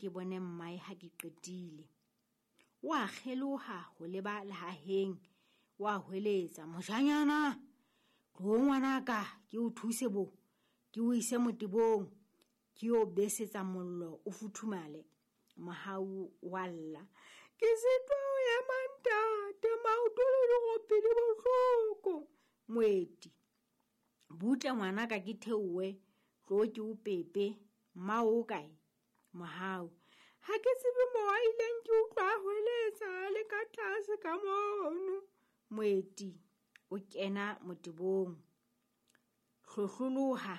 ke bone mmae ha ke qetile. O a kgeloha ho leba lehaheng, o a hweletsa, "Moshanyana, tloho ngwanaka ke o thuse bo, ke o ise motebong, ke yo besetsa mollo o futhumale." Mohau wa lla, "Ke sitwa ho ema ntate, maoto le dirope di bohloko." Moeti, "Butle ngwanaka ke theohe, tloho ke o pepe, mmao o kae?" Mohau, "Ha ke tsebe moo a ileng, ke utlwa a hweletsa a le ka tlase ka mono." Moeti o kena motebong. "Hlohloloha,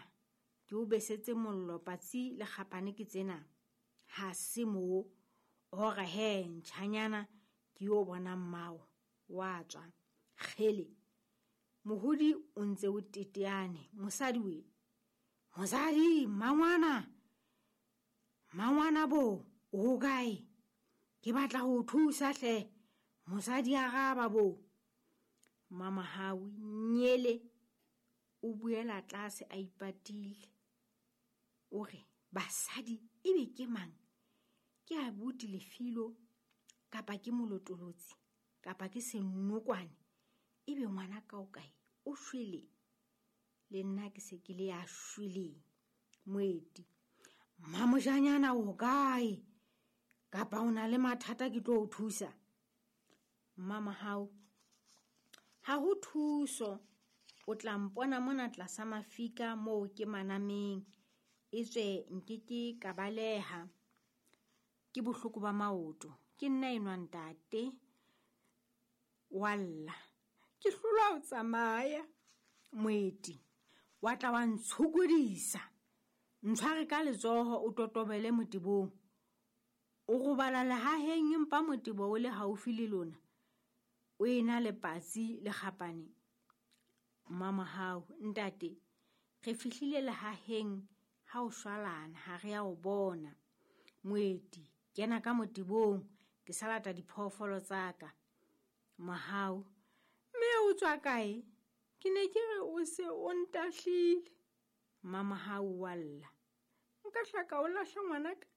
ke o besetse mollo, patsi le kgapane ke tsena." Ha se moo, ora he ntjhanyana ke yo bona mmao, wa tswa. Kgele, mohodi o ntse o teteane, mosadi we. Mosadi, mmangwana, mmangwana bo, o hokae? Ke batla ho o thusa hle. Mosadi araba bo. Mmamahau, nyele, o buela tlase a ipatile. O re, basadi ebe ke mang? Ke abuti Lefilo kapa ke molotolotsi kapa ke senokwane? Ebe ngwana ka o kae? O shwele. Le nna ke se ke le ya shweleng. Moeti, "Mmamoshanyana o kae? Kapa o na le mathata ke tlo o thusa?" Mmamahau, "Ha ho thuso, o tla mpona mona tlasa mafika moo ke manameng, etswe nkeke ka baleha. Ke bohloko ba maoto, ke nna enwa ntate." Wa lla, "Ke hlolwa ho tsamaya." Moeti, "Wa tla wa ntshokodisa. Ntshware ka letsoho o totobele motebong. O robala lehaheng empa motebo o le haufi le lona. O ena le patsi le kgapane." Mmamahau, "Ntate, re fihlile lehaheng ha o shwalana, ha re a o bona." Moeti, "Kena ka motebong, ke sa lata diphoofolo tsa ka." Mohau, "Mme o tswa kae? Ke ne ke re o se o ntahlile." Mmamahau wa lla, "Nka hlaka o lahla ngwanaka?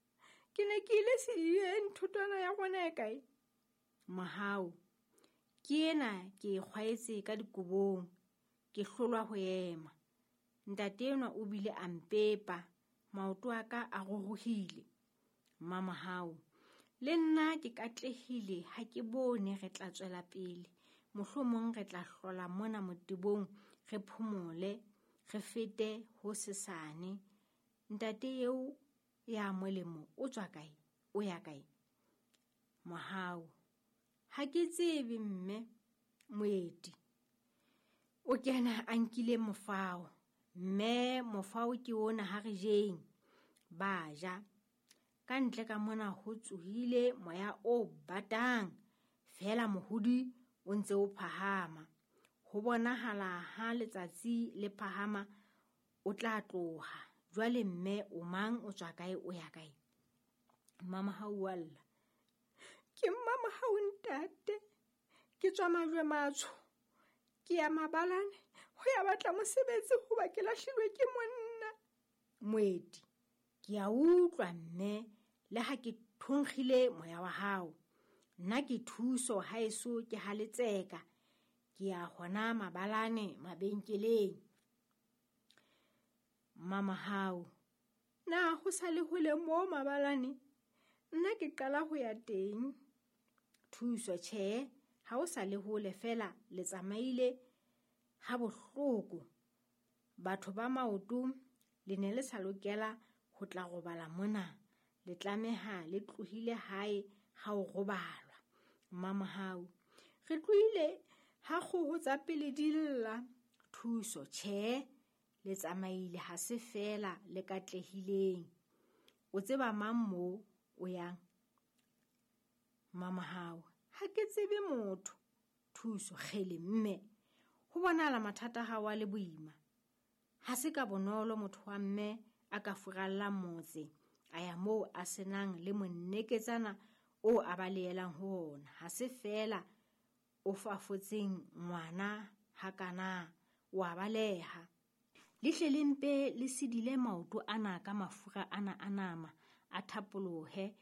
Ke ne ke ile sedibeng, thotwana ya rona e kae?" Mohau, "Ke ena ke e kgwaetse ka dikobong, ke hlolwa ho ema. Ntate enwa o bile a mpepa, maoto a ka a ruruhile." Mmamahau, "Le nna ke katlehile, ha ke bone re tla tswela pele. Mohlomong re tla hlola mona motebong, re phomole, re fete ho sesane. Ntate eo ya molemo o tswa kae? O ya kae?" Mohau, "Ha ke tsebe mme." Moeti o kena a nkile mofao. "Mme, mofao ke ona, ha re jeng." Ba ja. Ka ntle ka mona ho tsohile moya o batang, feela mohodi o ntse o phahama. Ho bonahala ha letsatsi le phahama o tla tloha. Jwale mme o mang, o tswa kae, o ya kae? Mmamahau wa lla, "Ke Mmamahau ntate, ke tswa majwe matsho, ke ya mabalane ho ya batla mosebetsi hoba ke lahlilwe ke monna." Moeti, "Ke a utlwa mme, le ha ke thonkgile moya wa hao. Nna ke thuso haeso ke haletseka, ke ya hona mabalane mabenkeleng." Mmamahau, "Na ho sa le hole moo mabalane? Nna ke qala ho ya teng." Thuso, "Tjhe, ha o sa le hole feela, le tsamaile ha bohloko. Batho ba maoto le ne le sa lokela ho tla robala mona. Le tlameha le tlohile hae ha o robalwa." Mmamahau, "Re tlohile ha kgoho tsa pele di lla." Thuso, "Tjhe, le tsamaile ha se feela le katlehileng. O tseba mang moo o yang?" Mmamahau, "Ha ke tsebe motho." Thuso, "Kgele mme, ho bonahala mathata a hao a le boima. Ha se ka bonolo motho wa mme a ka furallang motse, a ya moo a senang le monneketsana o a balehelang ho ona. Ha se feela o fafotseng ngwana hakana, o a baleha. Le hle le mpe le sidile maoto ana ka mafura ana a nama, a thapolohe.